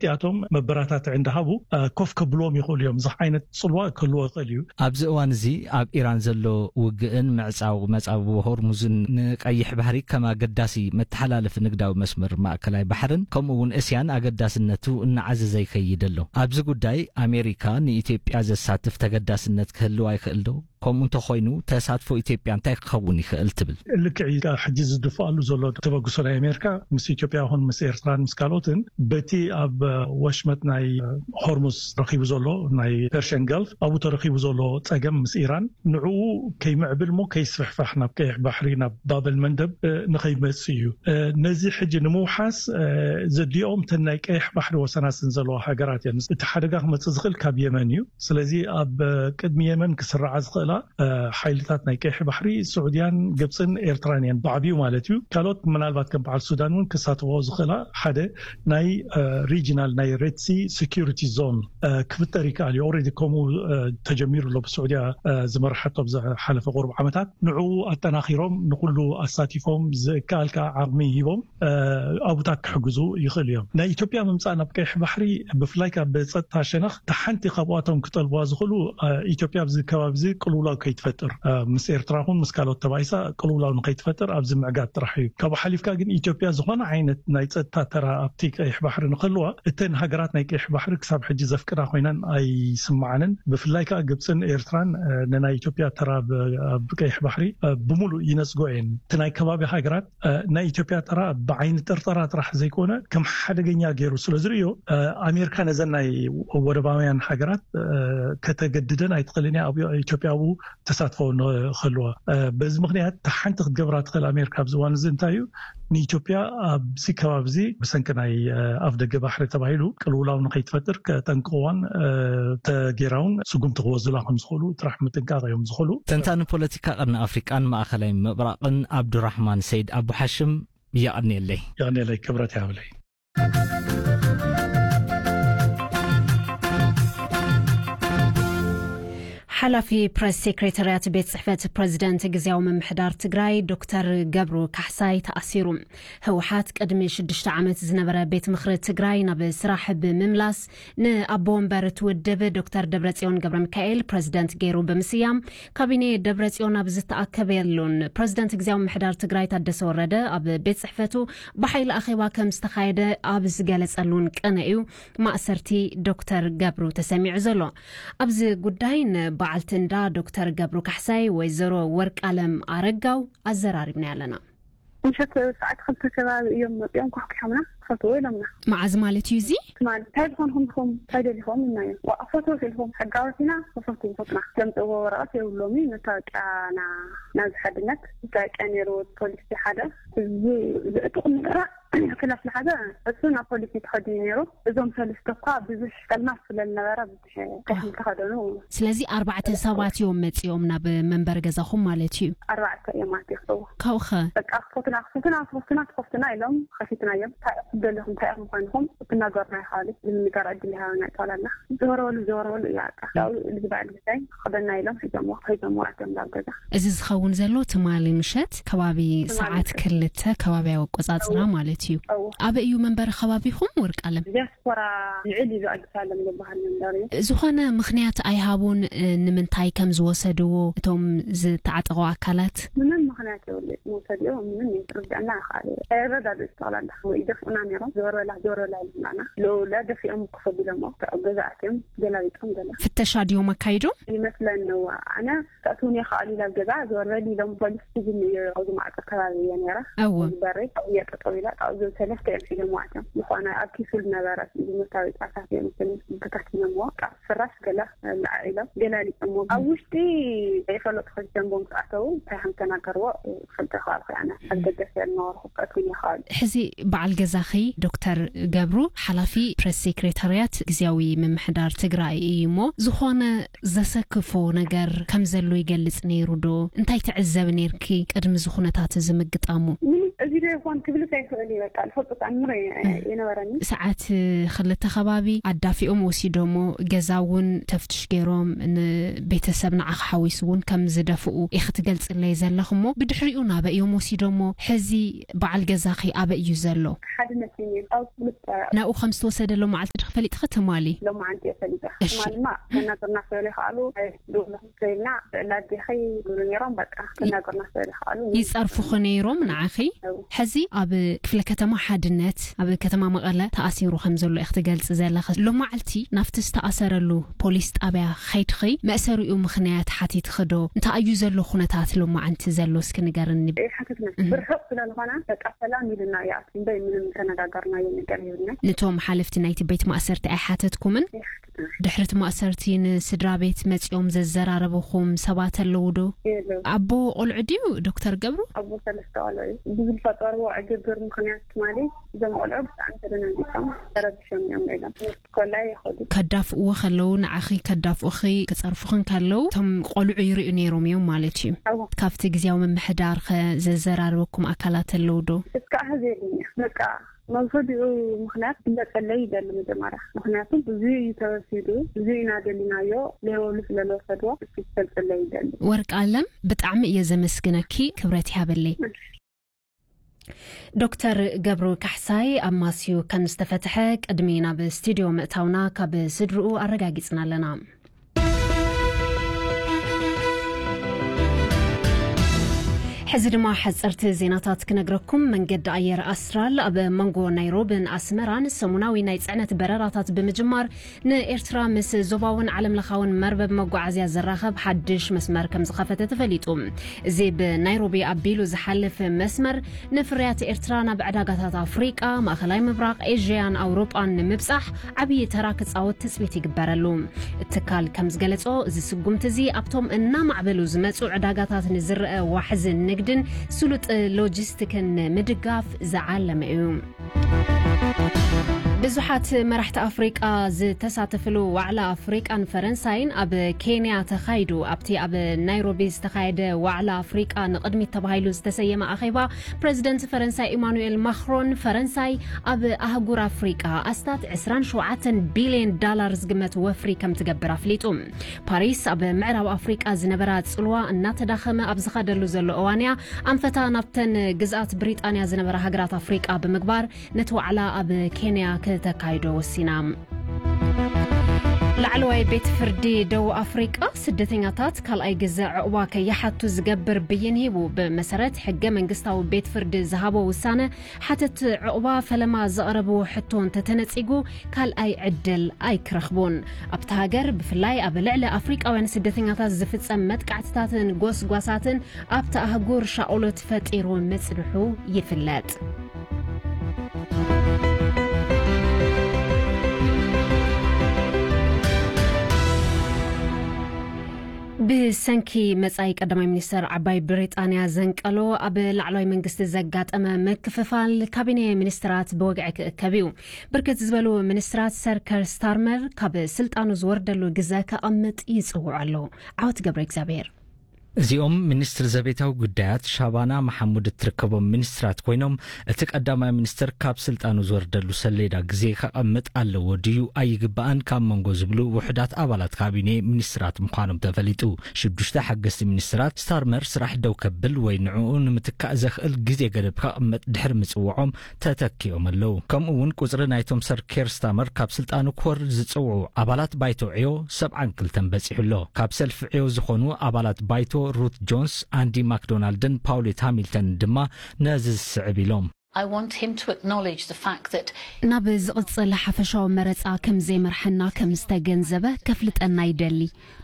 እዚኣቶም መበራታትዒ እንዳሃቡ፣ እ፣ ኮፍ ከብልዎም ይኽእሉ እዮም። እዚ ዓይነት ጽልዋ ክህልዎ ይኽእል እዩ። ኣብዚ እዋን እዚ ኣብ ኢራን ዘሎ ውግእን ምዕጻው መጻብቦ ሆርሙዝን ንቀይሕ ባሕሪ ከም ኣገዳሲ መተሓላለፊ ንግዳዊ መስመር ማእከላይ ባሕርን ከምኡ እውን እስያን ኣገዳስነቱ እናዓዘዘ ይኸይድ ኣሎ። ኣብዚ ጉዳይ ኣሜሪካ ንኢትዮጵያ ዘሳትፍ ተገዳስነት ክህልዋ ይኽእል ዶ? ከምኡ እንተኾይኑ ተሳትፎ ኢትዮጵያ እንታይ ክኸውን ይኽእል ትብል? ልክዕ እዩ። ሕጂ ዝድፍኣሉ ዘሎ ተበግሶ ናይ ኣሜሪካ ምስ ኢትዮጵያ ይኹን ምስ ኤርትራን ምስ ካልኦትን በቲ ኣብ ወሽመጥ ናይ ሆርሙዝ ረኺቡ ዘሎ ናይ ፐርሽን ገልፍ ኣብኡ ተረኺቡ ዘሎ ጸገም ምስ ኢራን ንዕኡ ከይምዕብል እሞ ከይስፍሕፋሕ ናብ ቀይሕ ባሕሪ ናብ ባበል መንደብ፣ እ፣ ንኸይመጽእ እዩ። እ፣ ነዚ ሕጂ ንምውሓስ፣ እ፣ ዘዲኦም እተን ናይ ቀይሕ ባሕሪ ወሰናስን ዘለዋ ሃገራት እየን። እቲ ሓደጋ ክመጽእ ዝኽእል ካብ የመን እዩ። ስለዚ ኣብ፣ እ፣ ቅድሚ የመን ክስርዓ ዝኽእላ፣ እ፣ ሓይልታት ናይ ቀይሕ ባሕሪ ስዑድያን ግብጽን ኤርትራን እየን ብዓቢኡ ማለት እዩ። ካልኦት ምናልባት ከም በዓል ሱዳን እውን ክሳተፎ ዝኽእላ ሓደ ናይ፣ እ፣ ሪጂናል ናይ ሬድ ሲ ሴኩሪቲ ዞን፣ እ፣ ክፍጠር ይከኣል እዩ። ኦልሬዲ ከምኡ፣ እ፣ ተጀሚሩ ኣሎ ብስዑድያ፣ እ፣ ዝመርሓቶ ኣብ ዝሓለፈ ቁሩብ ዓመታት። ንዕኡ ኣጠናኺሮም ንኹሉ ኣሳቲፎም ዝከኣል ከዓ ዓቕሚ ሂቦም፣ እ፣ ኣብኡታት ክሕግዙ ይኽእሉ እዮም። ናይ ኢትዮጵያ ምምጻእ ናብ ቀይሕ ባሕሪ ብፍላይ ካብ ብጸጥታ ሸነኽ እታ ሓንቲ ካብኣቶም ክጠልብዋ ዝኽእሉ፣ እ፣ ኢትዮጵያ ኣብዚ ከባቢ እዚ ቅልውላው ከይትፈጥር፣ እ፣ ምስ ኤርትራ ይኹን ምስ ካልኦት ተባኢሳ ቅልውላው ንኸይትፈጥር ኣብዚ ምዕጋት ጥራሕ እዩ። ካብኡ ሓሊፍካ ግን ኢትዮጵያ ዝኾነ ዓይነት ናይ ጸጥታ ተራ ኣብቲ ቀይሕ ባሕሪ ንክህልዋ እተን ሃገራት ናይ ቀይሕ ባሕሪ ክሳብ ሕጂ ዘፍቅዳ ኮይነን ኣይስምዓንን። ብፍላይ ከዓ ግብፅን ኤርትራን፣ እ፣ ንናይ ኢትዮጵያ ተራ ብ-፣ ኣብ ቀይሕ ባሕሪ፣ እ፣ ብምሉእ ይነጽጎ እየን። እቲ ናይ ከባቢ ሃገራት፣ እ፣ ናይ ኢትዮጵያ ተራ ብዓይኒ ጥርጠራ ጥራሕ ዘይኮነ ከም ሓደገኛ ገይሩ ስለ ዝርእዮ፣ እ፣ ኣሜሪካ ነዘን ናይ ወደባውያን ሃገራት፣ እ፣ ከተገድደን ኣይትኽእልን እያ። ኣብ ኢትዮጵያ ኣብኡ ተሳትፎ ንክህልዋ። እ፣ በዚ ምኽንያት እታ ሓንቲ ክትገብራ ትኽእል ኣሜሪካ ኣብዚ እዋን እዚ እንታይ እዩ? ንኢትዮጵያ ኣብዚ ከባቢ እዚ ብሰንኪ ናይ፣ እ፣ ኣፍ ደገ ባሕሪ ተባሂሉ ቅልውላው ንኸይትፈጥር ከጠንቅቕዋን፣ እ፣ ተጌራውን ስጉምቲ ክወስዱላ ከም ዝኽእሉ ጥራሕ ምጥንቃቕ እዮም ዝኽእሉ። ተንታኒ ፖለቲካ ቀርኒ ኣፍሪቃን ማእኸላይ ምብራቕን ኣብዱራሕማን ሰይድ ኣቡ ሓሽም የቐንየለይ። የቐንየለይ፣ ክብረት ይሃብለይ። ሓላፊ ፕረስ ሴክሬታርያት ቤት ጽሕፈት ፕረዚደንት ግዝያዊ ምምሕዳር ትግራይ ዶክተር ገብሩ ካሕሳይ ተኣሲሩ። ህወሓት ቅድሚ ሽዱሽተ ዓመት ዝነበረ ቤት ምኽሪ ትግራይ ናብ ስራሕ ብምምላስ ንኣቦ ወንበር እቲ ውድብ ዶክተር ደብረጽዮን ገብረ ሚካኤል ፕረዚደንት ገይሩ ብምስያም ካቢኔ ደብረጽዮን ኣብ ዝተኣከበሉን ፕረዚደንት ግዝያዊ ምምሕዳር ትግራይ ታደሰ ወረደ ኣብ ቤት ጽሕፈቱ ብሓይሊ ኣኼባ ከም ዝተኻየደ ኣብ ዝገለጸሉን ቅነ እዩ ማእሰርቲ ዶክተር ገብሩ ተሰሚዑ ዘሎ። ኣብዚ ጉዳይ ንበዓልቲ እንዳ ዶክተር ገብሩ ካሕሳይ ወይዘሮ ወርቃለም ኣረጋው ኣዘራሪብና ኣለና። ምሸት ሰዓት ክልተ ከባቢ እዮም መፂኦም ኳሕኲሖምና፣ ክፈትዎ ኢሎምና። መዓዝ ማለት እዩ እዚ? ትማሊ፣ "እንታይ ዝኾንኩም ኢኹም? እንታይ ደሊኹም?" ኢልናዮም። "ዋእ፣ ክፈትዎ ኢልኩም፣ ሕጋዊ ኢና፣ ክፈትዎ ኢልኩም ኢና። ዘምፅእዎ ወረቐት የብሎምን እዩ፣ መታወቂያና ናብዚ ሓድነት፣ መታወቂያ ነይሩ፣ ፖሊሲ ሓደ፣ እዚ ዝዕጥቕ ምጥራዕ ክላስ ዝሓዘ እሱ ናብ ፖሊሲ ተኸዲኑ ነይሩ። እዞም ሰለስተ እኳ ብዙሕ ጸልማት ስለ ዝነበረ ብዙሕ ከሕም ተኸደኑ። ስለዚ ኣርባዕተ ሰባት እዮም መጺኦም ናብ መንበሪ ገዛኹም ማለት እዩ? ኣርባዕተ እዮም ኣትዮም። ካብኡ ኸ? በቃ፣ "ክፈቱና፣ ክፈቱና፣ ክፈቱና፣ ክፈቱና" ኢሎም ከፊትናዮም። "እንታይ ኢኹም ደለኹም? እንታይ ኢኹም ኮይንኹም? ክትናገሩና ኢኻ" ኢሉ ዝምንጋር ዕድል ይሃበና ይጠቕላልና። ዘወረወሉ፣ ዘወረወሉ እዩ በቃ። ያው ልዝባዕ ልዝባይ ክኸደና ኢሎም ሒዞምዎ፣ ሒዞምዎ ኣትዮም ናብ ገዛ። እዚ ዝኸውን ዘሎ ትማሊ ምሸት ከባቢ ትማሊ ሰዓት ምሸት። ክልተ ከባብያዊ ኣቆጻጽራ እዎ። ማለት እዩ። እዎ። ኣበይ እዩ መንበሪ ከባቢኹም ወርቃለም? ዲያስፖራ ልዕል ኢሉ ኣዲስ ኣለም ዝበሃል መንበሪ እዩ። ዝኾነ ምኽንያት ኣይሃቡን፣ እ፣ ንምንታይ ከም ዝወሰድዎ እቶም ዝተዓጠቑ ኣካላት? ምንም ምኽንያት የብሉ። መውሰድዮ ምንም ይርድኣና ይኽእል። ኣይረዳድኡ ጠቕላላ። ወይ ይደፍኡና ነይሮም። ዞር በላ፣ ዞር በላ ይብሉና። ሎለ ደፊኦም ክኸዱ ኢሎሞ። ኣብ ገዛ ኣትዮም ገላቢጦም ገለ። ፍተሻ ድዮም ኣካይዶም? ይመስለኒ እዋ። ኣነ ክኣትውን እየ ከኣሉ ኢላ ኣብ ገዛ ዘወረድ ኢሎም ፖሊስ ስጅን እዩ ኣብዚ ማዕጾ ከባቢ እየ ነይረ። እዎ። በሪ እየ ጠጠው ኢላ ካብኡ ሰለስተ እዮም ሒዞም ኣትዮም። ዝኾነ ኣብ ኪሱ ዝነበረ መታወቂያታት እዮም ስም በታቲኖምዎ። ካብ ፍራሽ ገለ ለዓዒሎም ገላሊጦምዎ። ኣብ ውሽጢ ዘይፈለጡ ክልተ ቦምብ ኣተው እንታይ ከም ተናገርዎ ክልተ ከባቢ ኣነ ኣብ ደገ ስለ ዝነበርኩ ክኣትውን እየ ከኣሉ። ሕዚ በዓል ገዛኺ ዶክተር ገብሩ ሓላፊ ፕረስ ሴክሬታርያት ግዝያዊ ምምሕዳር ትግራይ እዩ እሞ ዝኾነ ዘሰክፎ ነገር ከም ዘሎ ይገልጽ ነይሩ ዶ? እንታይ ትዕዘብ ነይርኪ ቅድሚ እዚ ኩነታት እዚ ምግጣሙ? ምንም፣ እዚ ዶ ይኾን ክብልስ ኣይኽእል እዩ። በቃ፣ ዝፈልጦ ተኣምር እየ-፣ እህ። የነበረኒ። ሰዓት ክልተ ከባቢ ኣዳፊኦም ወሲዶሞ፣ ገዛ እውን ተፍትሽ ገይሮም፣ ንቤተሰብ ንዓኻ ሓዊሱ እውን ከም ዝደፍኡ ኢኺ ትገልጽለይ ዘለኽ እሞ፣ ብድሕሪኡ ናበይ እዮም ወሲዶሞ? ሕዚ በዓል ገዛኺ ኣበይ እዩ ዘሎ? ሓድነት እዩ ነይሩ። ኣብ ክልተ ናብኡ ከም ዝተወሰደ ሎማዓልቲ ድኺ ፈሊጥኺ ትማሊ? ሎማዓንቲ እየ ፈሊጠ። እሺ። ትማሊ ድማ ከናገርና ክበሉ ይኸኣሉ፣ ኣይደውሉ ክብልና፣ ላዴኸይ ይብሉ ነይሮም፣ በቃ፣ ከናገርና ክበሉ ይኸኣሉ። ይጸርፉኺ ነይሮም ንዓኺ? እው። ሕዚ ኣብ ክፍለ ከተማ ሓድነት፣ ኣብ ከተማ መቐለ ተኣሲሩ ከም ዘሎ ኢኺ ትገልጺ ዘለኺ። ሎማዓልቲ ናብቲ ዝተኣሰረሉ ፖሊስ ጣብያ ኸይድኺ፣ መእሰሪኡ ምኽንያት ሓቲትኺ ዶ? እንታይ እዩ ዘሎ ኩነታት ሎማዓንቲ ዘሎ? እስኪ ንገርኒ። ኣይሓተትና። እህ። ብርሑቕ ስለ ዝኾነ፣ በቃ፣ ሰላም ኢሉና ይኣቱ እምበር ምንም ተነጋገርናዮ ነገር የብልናን። ነቶም ሓለፍቲ ናይቲ ቤት ማእሰርቲ ኣይሓተትኩምን? ኣይሓተትናን። ድሕሪ እቲ ማእሰርቲ ንስድራ ቤት መጺኦም ዘዘራረብኹም ሰባት ኣለዉ ዶ? የለዉ። ኣቦ ቆልዑ ድዩ ዶክተር ገብሩ? ኣቦ ሰለስተ ቆልዑ እዩ። ብዝፈጠርዎ ዕግርግር ምኽንያት ትማሊ እዞም ቆልዑ ብጣዕሚ ተደናጊጾም ተረቢሾም እዮም ኢሎም። ኮላይ ይኸዱ። ከዳፍእዎ ከለዉ፣ ንዓኺ ከዳፍኡኺ፣ ክጸርፉኽን ከለዉ፣ እቶም ቆልዑ ይርእዩ ነይሮም እዮም ማለት እዩ። እወ። ካብቲ ግዝያዊ ምምሕዳር ኸ ዘዘራረበኩም ኣካላት ኣለዉ ዶ? እስካዕ ሕዚ የለን። በቃ፣ መብሰዲኡ ምኽንያት ክግለጸለይ ይደሊ መጀመርያ። ምኽንያቱ ብዙ እዩ ተወሲዱ፣ ብዙ ኢና ደሊናዮ፣ ለይወሉ ስለ ዝወሰድዎ፣ እሱ ክገልጸለይ ይደሊ። ወርቅ ኣለም፣ ብጣዕሚ እየ ዘመስግነኪ፣ ክብረት ይሃበለይ። ዶክተር ገብሩ ካሕሳይ ኣብ ማስዩ ከም ዝተፈትሐ ቅድሚ ናብ ስቱድዮ ምእታውና ካብ ስድርኡ ኣረጋጊጽና ኣለና። ሕዚ ድማ ሓጸርቲ ዜናታት ክነግረኩም። መንገዲ ኣየር ኣስትራል ኣብ መንጎ ናይሮብን ኣስመራን ሰሙናዊ ናይ ጽዕነት በረራታት ብምጅማር ንኤርትራ ምስ ዞባውን ዓለምለኻውን መርበብ መጓዓዝያ ዘራኸብ ሓድሽ መስመር ከም ዝኸፈተ ተፈሊጡ። እዚ ብናይሮቢ ኣቢሉ ዝሓልፍ መስመር ንፍርያት ኤርትራ ናብ ዕዳጋታት ኣፍሪቃ፣ ማእኸላይ ምብራቕ፣ ኤዥያን ኣውሮጳን ንምብጻሕ ዓብዪ ተራ ክጻወት ትጽቢት ይግበረሉ። እቲ ትካል ከም ዝገለጾ፣ እዚ ስጉምቲ እዚ ኣብቶም እናማዕበሉ ዝመጹ ዕዳጋታት ንዝረአ ዋሕዚ ንግድን ስሉጥ ሎጂስቲክን ንምድጋፍ ዝዓለመ እዩ። ብዙሓት መራሕቲ ኣፍሪቃ ዝተሳተፍሉ ዋዕላ ኣፍሪቃን ፈረንሳይን ኣብ ኬንያ ተኻይዱ። ኣብቲ ኣብ ናይሮቢ ዝተኻየደ ዋዕላ ኣፍሪቃ ንቕድሚት ተባሂሉ ዝተሰየመ ኣኼባ፣ ፕረዚደንት ፈረንሳይ ኢማኑኤል ማክሮን፣ ፈረንሳይ ኣብ ኣህጉር ኣፍሪቃ ኣስታት ዕስራን ሸውዓተን ቢልዮን ዳላር ዝግመት ወፍሪ ከም ትገብር ኣፍሊጡ። ፓሪስ ኣብ ምዕራብ ኣፍሪቃ ዝነበራ ጽልዋ እናተዳኸመ ኣብ ዝኸደሉ ዘሎ እዋንያ፣ ኣንፈታ ናብተን ግዝኣት ብሪጣንያ ዝነበራ ሃገራት ኣፍሪቃ ብምግባር፣ ነቲ ዋዕላ ኣብ ኬንያ ክተካይዶ ወሲና። ላዕለዋይ ቤት ፍርዲ ደቡብ ኣፍሪቃ፣ ስደተኛታት ካልኣይ ግዘ ዕቑባ ከይሓቱ ዝገብር ብይን ሂቡ። ብመሰረት ሕገ መንግስታዊ ቤት ፍርዲ ዝሃቦ ውሳነ፣ ሓተቲ ዕቑባ ፈለማ ዘቕረብዎ ሕቶ እንተተነጺጉ፣ ካልኣይ ዕድል ኣይክረኽቡን። ኣብታ ሃገር፣ ብፍላይ ኣብ ልዕሊ ኣፍሪቃውያን ስደተኛታት ዝፍጸም መጥቃዕትታትን ጎስጓሳትን ኣብታ ኣህጉር ሻቕሎት ፈጢሩ ምጽንሑ ይፍለጥ። ብሰንኪ መጻኢ ቀዳማይ ሚኒስተር ዓባይ ብሪጣንያ ዘንቀሎ ኣብ ላዕለዋይ መንግስቲ ዘጋጠመ ምክፍፋል፣ ካቢኔ ሚኒስትራት ብወግዒ ክእከብ እዩ። ብርክት ዝበሉ ሚኒስትራት ሰር ከር ስታርመር ካብ ስልጣኑ ዝወርደሉ ግዘ ከቐምጥ ይጽውዑ ኣለዉ። ዓወት ገብረ እግዚኣብሔር። እዚኦም ሚኒስትር ዘቤታዊ ጉዳያት ሻባና መሓሙድ እትርከቦም ሚኒስትራት ኮይኖም፣ እቲ ቀዳማይ ሚኒስትር ካብ ስልጣኑ ዝወርደሉ ሰሌዳ ግዜ ከቐምጥ ኣለዎ ድዩ ኣይግባእን ካብ መንጎ ዝብሉ ውሑዳት ኣባላት ካቢኔ ሚኒስትራት ምዃኖም ተፈሊጡ። ሽዱሽተ ሓገዝቲ ሚኒስትራት ስታርመር ስራሕ ደው ከብል ወይ ንዕኡ ንምትካእ ዘኽእል ግዜ ገደብ ከቐምጥ ድሕሪ ምጽውዖም ተተኪኦም ኣለዉ። ከምኡ እውን ቁጽሪ ናይቶም ሰር ኬር ስታርመር ካብ ስልጣኑ ክወርድ ዝጽውዑ ኣባላት ባይቶ ዕዮ ሰብዓን ክልተን በጺሑ ኣሎ። ካብ ሰልፊ ዕዮ ዝኾኑ ኣባላት ባይቶ ሩት ጆንስ፣ ኣንዲ ማክዶናልድን ፓውሌት ሃሚልተንን ድማ ነዚ ዝስዕብ ኢሎም። I want him to acknowledge the fact that ናብ ዝቕጽል ሓፈሻዊ መረጻ ከም ዘይመርሐና ከም ዝተገንዘበ ከፍልጠና ይደሊ።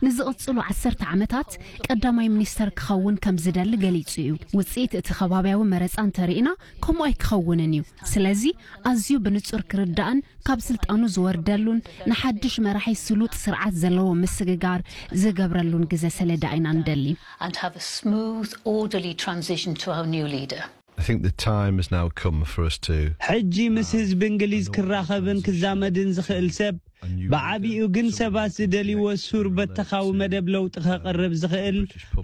ንዝቕጽሉ ዓሰርተ ዓመታት ቀዳማይ ሚኒስተር ክኸውን ከም ዝደሊ ገሊጹ እዩ። ውጽኢት እቲ ከባብያዊ መረጻ እንተርኢና ከምኡ ኣይክኸውንን እዩ። ስለዚ ኣዝዩ ብንጹር ክርዳእን ካብ ስልጣኑ ዝወርደሉን ንሓድሽ መራሒ ስሉጥ ስርዓት ዘለዎ ምስግጋር ዝገብረሉን ግዘ ሰሌዳ ኢና ንደሊ። And have a smooth, orderly transition to our new leader. I think the time has now come for us to ሕጂ ምስ ህዝቢ እንግሊዝ ክራኸብን ክዛመድን ዝኽእል ሰብ፣ ብዓቢኡ ግን ሰባት ዝደልይዎ ሱር በተኻዊ መደብ ለውጢ ከቕርብ ዝኽእል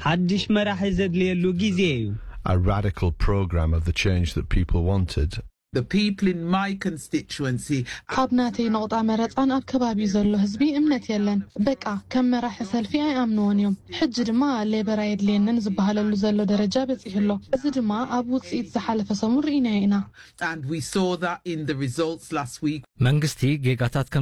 ሓድሽ መራሒ ዘድልየሉ ግዜ እዩ። a radical program of the change that people wanted. The people in my constituency. ኣብ ናተይ ነቑጣ መረፃን ኣብ ከባቢኡ ዘሎ ህዝቢ እምነት የለን። በቃ ከም መራሒ ሰልፊ ኣይኣምንዎን እዮም። ሕጂ ድማ ሌበር ኣየድልየንን ዝበሃለሉ ዘሎ ደረጃ በፂሑ ኣሎ። እዚ ድማ ኣብ ውፅኢት ዝሓለፈ ሰሙን ርኢናዮ ኢና። And we saw that in the results last week. መንግስቲ ጌጋታት